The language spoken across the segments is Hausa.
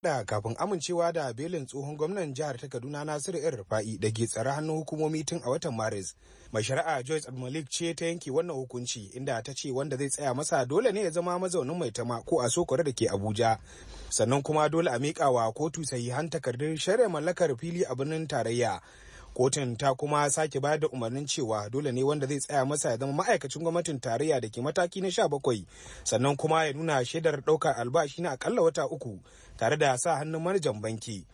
Da kafin amincewa da belin tsohon gwamnan jihar ta Kaduna Nasiru El Rufa'i da ke tsare hannun hukumomi tun a watan Maris. Mai shari'a Joyce Abdulmalik ce ta yanke wannan hukunci, inda ta ce wanda zai tsaya masa dole ne ya zama mazaunin Maitama ko a Sokore da ke Abuja. Sannan kuma dole a miƙa wa kotu sahihan takardun shari'a mallakar fili a birnin tarayya. Kotun ta kuma sake bayar da umarnin cewa dole ne wanda zai tsaya masa ya zama ma'aikacin gwamnatin tarayya da ke mataki na 17, sannan kuma ya nuna shaidar ɗaukar albashi na akalla wata 3 tare da sa hannun manajan banki.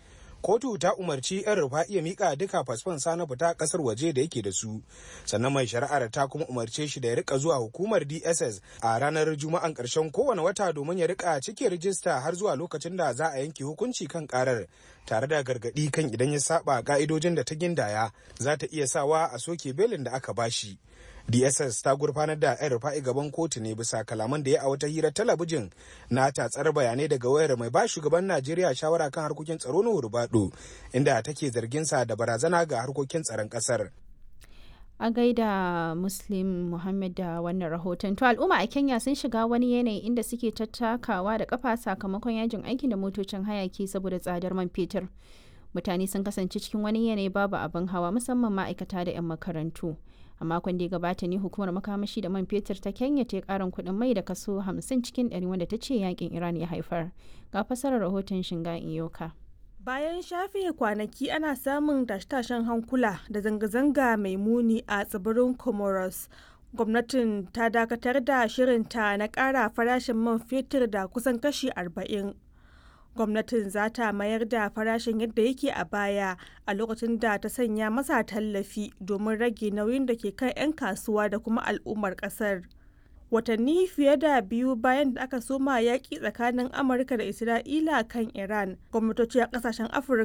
Kotu ta umarci 'Yan Rufa'i ya mika duka fasfon sa na fita kasar waje da yake da su. Sannan mai shari'ar ta kuma umarce shi da ya rika zuwa hukumar DSS a ranar Juma'an karshen kowane wata domin ya rika cike rijista har zuwa lokacin da za a yanke hukunci kan karar, tare da gargadi kan idan ya saba ka'idojin da ta gindaya, za ta iya sawa a soke belin da aka bashi. DSS ta gurfanar da 'Yan Rufa'i gaban kotu ne bisa kalaman da ya a wata hirar talabijin na tatsar bayanai daga wayar mai ba shugaban Najeriya shawara kan harkokin tsaro na Rubado, inda take zargin sa da barazana ga harkokin tsaron kasar. A gaida Muslim Muhammad da wannan rahoton. To, al'umma a Kenya sun shiga wani yanayi inda suke tattakawa da kafa sakamakon yajin aikin da motocin hayaki saboda tsadar man fetur. Mutane sun kasance cikin wani yanayi babu abin hawa, musamman ma'aikata da 'yan makarantu. A makon da ya gabata ne hukumar makamashi da man fetur ta Kenya ta yi karin kuɗin mai da kaso 50 cikin 100, wanda ta ce yakin Iran ya haifar. Ga fasarar rahoton Shinga Iyoka. Bayan shafe kwanaki ana samun tashe-tashen hankula da zanga-zanga mai muni a tsibirin Comoros, gwamnatin ta dakatar da shirinta na ƙara farashin man fetur da kusan kashi 40. Gwamnatin za ta mayar da farashin yadda yake a baya a lokacin da ta sanya masa tallafi domin rage nauyin da ke kan 'yan kasuwa da kuma al'ummar kasar. Watanni fiye da biyu bayan da aka soma yaƙi tsakanin Amurka da Isra'ila kan Iran, gwamnatoci a ƙasashen Afirka